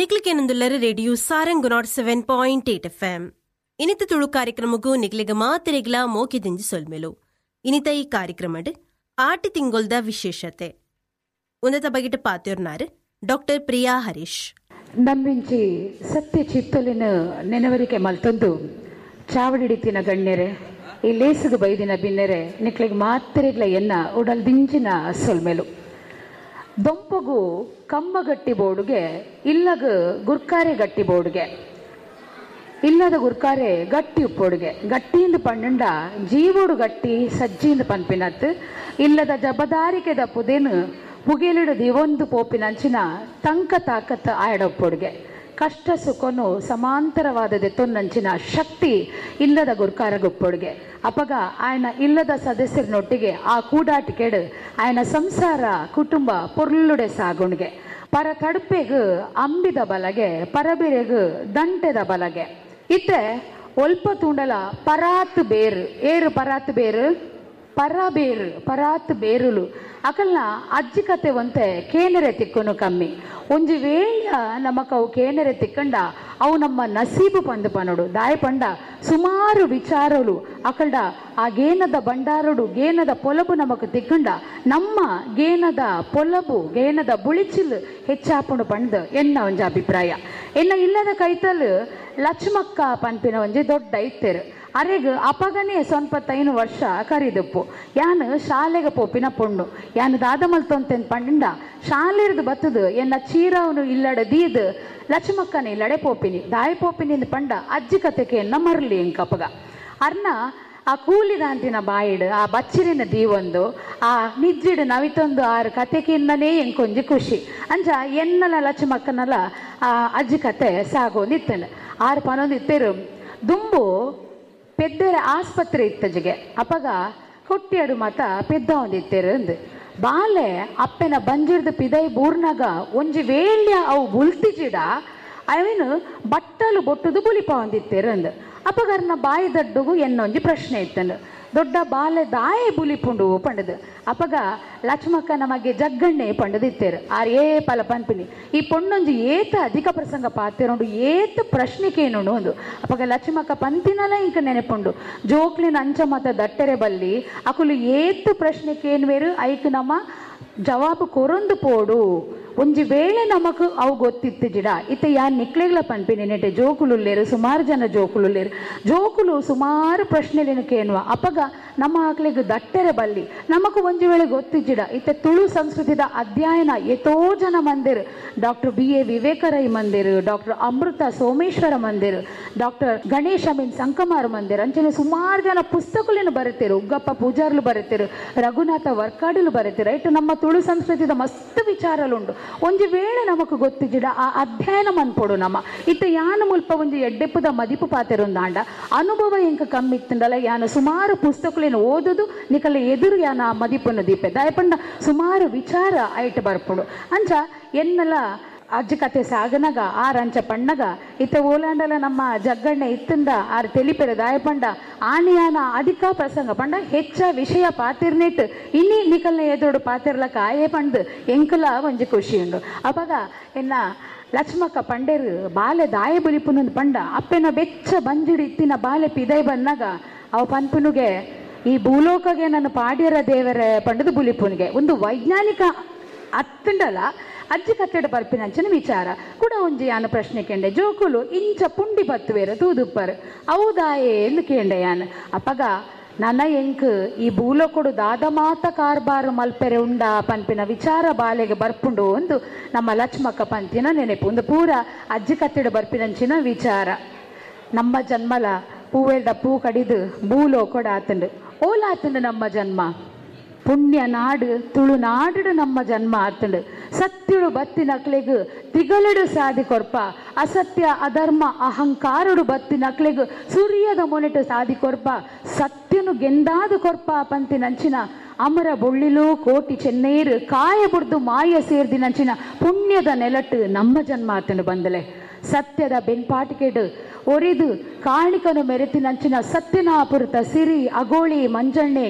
ನಿಕ್ಲಿಕೇನೊಂದುಲ್ಲರ radio Sarang 107.8 FM. ಇನಿತ ತುಳು ಕಾರ್ಯಕ್ರಮಕ್ಕೂ ನಿಕ್ಲಿಗ ಮಾತೆರೆಗ್ಲ ಮೋಕೆದಿಂಜಿ ಸೊಲ್ಮೆಲು. ಇನಿತ ಈ ಕಾರ್ಯಕ್ರಮಡ್ ಆಟಿ ತಿಂಗೊಲ್ದ ವಿಶೇಷತೆ ಉನ್ನತ ಬಗೆಟ ಪಾತ್ಯೋರ್ನಾರು ಡಾಕ್ಟರ್ ಪ್ರಿಯಾ ಹರೀಶ್. ನಮ್ಮಿಂಚಿ ಸತ್ಯ ಚಿತ್ತಲಿನ ನೆನವರಿಕೆ ಮಲ್ತೊಂದು ಚಾವಡಿಡಿತಿನ ಗಣ್ಯರೆ, ಈ ಲೇಸುಗು ಬೈದಿನ ಬಿನ್ನೆರೆ, ನಿಕ್ಲಿಗೆ ಮಾತ್ರೆಗ್ಲ ಎನ್ನ ಉಡಲ್ ದಿಂಜಿನ ಸೊಲ್ಮೆಲು. ದೊಂಪಗು ಕಮ್ಮಗಟ್ಟಿ ಬೋರ್ಡುಗೆ, ಇಲ್ಲಗ ಗುರ್ಕಾರೆ ಗಟ್ಟಿ ಬೋರ್ಡುಗೆ, ಇಲ್ಲದ ಗುರ್ಕಾರೆ ಗಟ್ಟಿ ಉಪ್ಪೋಡುಗೆ, ಗಟ್ಟಿಯಿಂದ ಪಣ್ಣುಂಡ ಜೀವೋಡು ಗಟ್ಟಿ ಸಜ್ಜಿಯಿಂದ ಪನ್ಪಿನತ್, ಇಲ್ಲದ ಜಬದಾರಿಕೆ ದಪ್ಪುದೇನು ಪುಗೆಲಿಡು ದಿವೊಂದು ಪೋಪಿನಂಚಿನ ತಂಕ ತಾಕತ್ ಆಯಡೊಪ್ಪೊಡುಗೆ, ಕಷ್ಟ ಸುಖನು ಸಮಾಂತರವಾದದೆ ತೊನ್ನಂಚಿನ ಶಕ್ತಿ ಇಲ್ಲದ ಗುರ್ಕಾರ ಗುಪ್ಪೊಡುಗೆ. ಅಪಗ ಆಯನ ಇಲ್ಲದ ಸದಸ್ಯರನೊಟ್ಟಿಗೆ ಆ ಕೂಡಾಟಿಕೆಡು ಆಯನ ಸಂಸಾರ ಕುಟುಂಬ ಪೊರ್ಲುಡೆ ಸಾಗುಣಿಗೆ. ಪರ ತಡುಪೆಗು ಅಂಬಿದ ಬಲಗೆ, ಪರಬಿರೆಗು ದಂಟೆದ ಬಲಗೆ. ಇತ್ತೆ ಒಲ್ಪ ತೂಂಡಲ ಪರಾತ್ ಬೇರು, ಏರು ಪರಾತ್ ಬೇರು, ಪರಬೇರು ಪರಾತ್ ಬೇರುಲು ಅಕಲ್ನ ಅಜ್ಜಿ ಕತೆ ಒಂತೆ ಕೇನರೆ ತಿಕ್ಕನು ಕಮ್ಮಿ. ಒಂಜಿ ವೇಳ ನಮಕ್ ಅವು ಕೇನರೆ ತಿಕ್ಕಂಡ ಅವು ನಮ್ಮ ನಸೀಬು ಪಂದು ಪನೋಡು. ದಾಯ ಪಂಡ ಸುಮಾರು ವಿಚಾರಲು ಅಕಲ್ಡ ಆ ಗೇನದ ಬಂಡಾರಡು ಗೇನದ ಪೊಲಬು ನಮಕ್ ತಿಕ್ಕಂಡ ನಮ್ಮ ಗೇನದ ಪೊಲಬು ಗೇನದ ಬುಳಿಚಿಲ್ ಹೆಚ್ಚಾಪುಂಡು ಪಂಡ್ ಎನ್ನ ಒಂಜಿ ಅಭಿಪ್ರಾಯ. ಎನ್ನ ಇಲ್ಲದ ಕೈತಲ್ ಲಕ್ಷ್ಮಕ್ಕ ಪನ್ಪಿನ ಒಂಜಿ ದೊಡ್ಡ ಇತ್ತೆರು. ಅರೆಗ್ ಅಪಗನೇ 95 ವರ್ಷ ಕರಿದಪ್ಪು. ಯಾನು ಶಾಲೆಗೆ ಪೋಪಿನ ಪೊಣ್ಣು, ಯಾನು ದಾದ ಮಲ್ತೊಂತೆನ್ ಪಂಡ ಶಾಲೆರ್ದು ಬತ್ತದು ಎನ್ನ ಚೀರವನು ಇಲ್ಲಡೆ ದೀದ್ ಲಕ್ಷ್ಮಕ್ಕನ ಇಲ್ಲಡೆ ಪೋಪಿನಿ. ದಾಯ ಪೋಪಿನಿ ಪಂಡ ಅಜ್ಜಿ ಕತೆಗೆ ಎನ್ನ ಮರಲಿ ಎಂಕಪಗ. ಅರ್ನ ಆ ಕೂಲಿದಾಂತಿನ ಬಾಯಿಡು ಆ ಬಚ್ಚಿರಿನ ದೀವೊಂದು ಆ ನಿಜ್ಜಿಡು ನವಿತೊಂದು ಆರು ಕತೆಕಿನ್ನನೇ ಎಂಕೊಂಜಿ ಖುಷಿ. ಅಂಚ ಎನ್ನಲ ಲಕ್ಷ್ಮಕ್ಕನಲ ಆ ಅಜ್ಜಿ ಕತೆ ಸಾಗೊಂದಿತ್ತನು. ಆರು ಪನೊಂದು ಇತ್ತೇರು ದುಂಬು ಪೆದ್ದರ ಆಸ್ಪತ್ರೆ ಇತ್ತಜಿಗೆ. ಅಪಗ ಕೊಟ್ಟಿಯಡು ಮಾತ ಪೆದ್ದ ಒಂದಿತ್ತೇರು ಅಂದು ಬಾಲೆ ಅಪ್ಪೆನ ಬಂಜಿರ್ದ ಪಿದೈ ಬೂರ್ನಾಗ ಒಂಜಿ ವೇಳ್ಯ ಅವು ಬುಲ್ತಿಜಿಡ ಅವೇನು ಬಟ್ಟಲು ಬೊಟ್ಟುದು ಬುಲಿಪ ಒಂದಿತ್ತೇರು ಅಂದು. ಅಪಗರ್ನ ಬಾಯಿ ದಡ್ಡುಗು ಎನ್ನೊಂಜಿ ಪ್ರಶ್ನೆ ಇತ್ತಂದು, ದೊಡ್ಡ ಬಾಲೆ ದಾಯೆ ಬುಲಿಪುಂಡು ಪಂಡದು. ಅಪಗ ಲಕ್ಷ್ಮಕ್ಕ ನಮಗೆ ಜಗ್ಗಣ್ಣೆ ಪಂಡದಿತ್ತೇರು. ಆರ್ ಏ ಪಲ ಪನ್ಪಿನಿ ಈ ಪೊಣ್ಣೊಂಜಿ ಏತ ಅಧಿಕ ಪ್ರಸಂಗ ಪಾತಿರೋಂಡು ಏತ ಪ್ರಶ್ನೆಕೇನುಂಡು ಒಂದು. ಅಪಗ ಲಕ್ಷ್ಮಕ್ಕ ಪಂತಿನಲ ಇಂಕ ನೆನಪುಂಡು ಜೋಕ್ಲಿನ ಅಂಚ ಮತ ದಟ್ಟೆರೆ ಬಲ್ಲಿ ಅಕುಲು ಏತು ಪ್ರಶ್ನೆಕೇನ್ವೇರು ಐಕ್ ನಮ್ಮ ಜವಾಬು ಕೊರೊಂದು ಪೋಡು. ಒಂಜಿ ವೇಳೆ ನಮಕ್ ಅವು ಗೊತ್ತಿತ್ತು ಜಿಡ. ಇತ್ತ ಯಾನ್ ನಿಕ್ಲೆಗ್ಲ ಪನ್ಪಿನಿ ನೆಟೆ ಜೋಕುಲುಲ್ಲೇರು, ಸುಮಾರು ಜನ ಜೋಕುಲುಲ್ಲೇರು, ಜೋಕುಲು ಸುಮಾರು ಪ್ರಶ್ನೆಲೇನು ಕೇನುವ. ಅಪಗ ನಮ್ಮ ಆಕ್ಲೆಗ್ ದಟ್ಟೆರೆ ಬಲ್ಲಿ ನಮಕ್ ಒಂಜಿ ವೇಳೆ ಗೊತ್ತಿಜ್ಜಿಡ. ಇತ್ತ ತುಳು ಸಂಸ್ಕೃತಿದ ಅಧ್ಯಯನ ಎತೋ ಜನ ಮಂದಿರು, ಡಾಕ್ಟರ್ ಬಿ.ಎ. ವಿವೇಕ ರೈ ಮಂದಿರು, ಡಾಕ್ಟರ್ ಅಮೃತ ಸೋಮೇಶ್ವರ ಮಂದಿರು, ಡಾಕ್ಟರ್ ಗಣೇಶ್ ಅಮೀನ್ ಸಂಕಮಾರ್ ಮಂದಿರ್, ಅಂಚನೆ ಸುಮಾರು ಜನ ಪುಸ್ತಕಲೇನು ಬರುತ್ತೀರು, ಉಗ್ಗಪ್ಪ ಪೂಜಾರ್ಲು ಬರುತ್ತೀರು, ರಘುನಾಥ ವರ್ಕಾಡಿಲು ಬರುತ್ತೀರು. ರೈಟ್, ನಮ್ಮ ತುಳು ಸಂಸ್ಕೃತಿದ ಮಸ್ತ್ ವಿಚಾರಲುಂಡು. ಒಂಜಿ ವೇಳೆ ನಮಕ್ ಗೊತ್ತಿಜ್ಜಿಡ ಆ ಅಧ್ಯಯನ ಮನ್ಪೊಡು ನಮ್ಮ. ಇತ್ತ ಯಾನ ಮುಲ್ಪ ಒಂಜಿ ಎಡ್ಡೆಪ್ಪದ ಮದಿಪು ಪಾತೆರೊಂದಾಂಡ ಅನುಭವ ಎಂಕ ಕಮ್ಮಿ ಇತ್ತಂಡಲ ಯಾನ ಸುಮಾರು ಪುಸ್ತಕಲೇನು ಓದುದು ನಿಕಲ ಎದುರು ಯಾನ ಆ ಮದಿಪನ್ನು ದೀಪೆ ದಾಯಪಂಡ ಸುಮಾರು ವಿಚಾರ ಐಟ್ ಬರ್ಪುಡು. ಅಂಚ ಎನ್ನಲ ಅಜ್ಜಿ ಕತೆ ಸಾಗನಗ ಆರಂಚ ಪಣ್ಣಗ ಇತ್ತ ಓಲಾಂಡಲ ನಮ್ಮ ಜಗ್ಗಣ್ಣೆ ಇತ್ತಂದ ಆರ್ ತೆಲಿಪೆರ ದಾಯಪಂಡ ಆನಿಯಾನ ಅಧಿಕ ಪ್ರಸಂಗ ಪಂಡ ಹೆಚ್ಚ ವಿಷಯ ಪಾತಿರ್ನೆಟ್ ಇನ್ನಿ ನಿಕಲ್ನ ಎದುರು ಪಾತಿರ್ಲಕ ಆಯೇ ಪಂಡ್ ಎಂಕಲ ಒಂಜಿ ಖುಷಿ ಉಂಡು. ಅಪಗ ಎನ್ನ ಲಕ್ಷ್ಮಕ್ಕ ಪಂಡೇರು ಬಾಲೆ ದಾಯ ಬುಲಿಪುನೊಂದು ಪಂಡ ಅಪ್ಪೆನ ಬೆಚ್ಚ ಬಂಜಿಡು ಇತ್ತಿನ ಬಾಲೆ ಪಿದೈ ಬಂದಾಗ ಅವ ಪನ್ಪುನುಗೆ ಈ ಭೂಲೋಕಗೆ ನಾನು ಪಾಡ್ಯರ ದೇವರ ಪಂಡದು ಬುಲಿಪುನಿಗೆ ಒಂದು ವೈಜ್ಞಾನಿಕ ಅತ್ತಂಡಲ ಅಜ್ಜಿ ಕತ್ತೆಡ ಬರ್ಪಿನಂಚಿನ ವಿಚಾರ ಕೂಡ ಒಂಜಿ ಯಾನ ಪ್ರಶ್ನೆ ಕೇಂಡೆ. ಜೋಕುಲು ಇಂಚ ಪುಂಡಿ ಬತ್ತುವೇರ ತೂದುಪ್ಪರು ಹೌದಾಯೇ ಎಂದು ಕೇಂಡೆ ಯಾನ್. ಅಪಗ ನನ್ನ ಎಂಕ್ ಈ ಭೂಲೋಕೊಡು ದಾದ ಮಾತ ಕಾರ್ಬಾರು ಮಲ್ಪೆರೆ ಉಂಡ ಪನ್ಪಿನ ವಿಚಾರ ಬಾಲೆಗೆ ಬರ್ಪುಂಡು ಒಂದು ನಮ್ಮ ಲಕ್ಷ್ಮಕ್ಕ ಪಂತಿನ ನೆನಪು. ಒಂದು ಪೂರ ಅಜ್ಜಿ ಕತ್ತೆಡ ಬರ್ಪಿನಂಚಿನ ವಿಚಾರ. ನಮ್ಮ ಜನ್ಮಲ ಪೂವೆಲ್ದ ಪೂ ಕಡಿದು ಭೂಲೋಕೊಡು ಆತಂಡು ಓಲಾತಂಡು ನಮ್ಮ ಜನ್ಮ ಪುಣ್ಯ ನಾಡು ತುಳುನಾಡು ನಮ್ಮ ಜನ್ಮ ಆತಂಡು. ಸತ್ಯುಡು ಬತ್ತಿನಕ್ಲೆಗ್ ತಿಗಲಡು ಸಾದಿ ಕೊರ್ಪ, ಅಸತ್ಯ ಅಧರ್ಮ ಅಹಂಕಾರುಡು ಬತ್ತಿನಕ್ಲೆಗ್ ಸೂರ್ಯದ ಮೊನೆಟು ಸಾದಿ ಕೊರ್ಪ, ಸತ್ಯನು ಗೆಂದಾದ ಕೊರ್ಪ ಪಂತಿನಂಚಿನ ಅಮರ ಬೊಳ್ಳಿಲು ಕೋಟಿ ಚೆನ್ನೇರು ಕಾಯ ಬುಡ್ದು ಮಾಯ ಸೇರ್ದಿನಂಚಿನ ಪುಣ್ಯದ ನೆಲಟ್ಟು ನಮ್ಮ ಜನ್ಮ ಆತಂಡು ಬಂದಲೆ. ಸತ್ಯದ ಬೆನ್ಪಾಟಿಕೆಡು ಒರಿದು ಕಾಣಿಕನು ಮೆರೆತಿನಂಚಿನ ಸತ್ಯನಾಪುರತ ಸಿರಿ ಅಗೋಳಿ ಮಂಜಣ್ಣೆ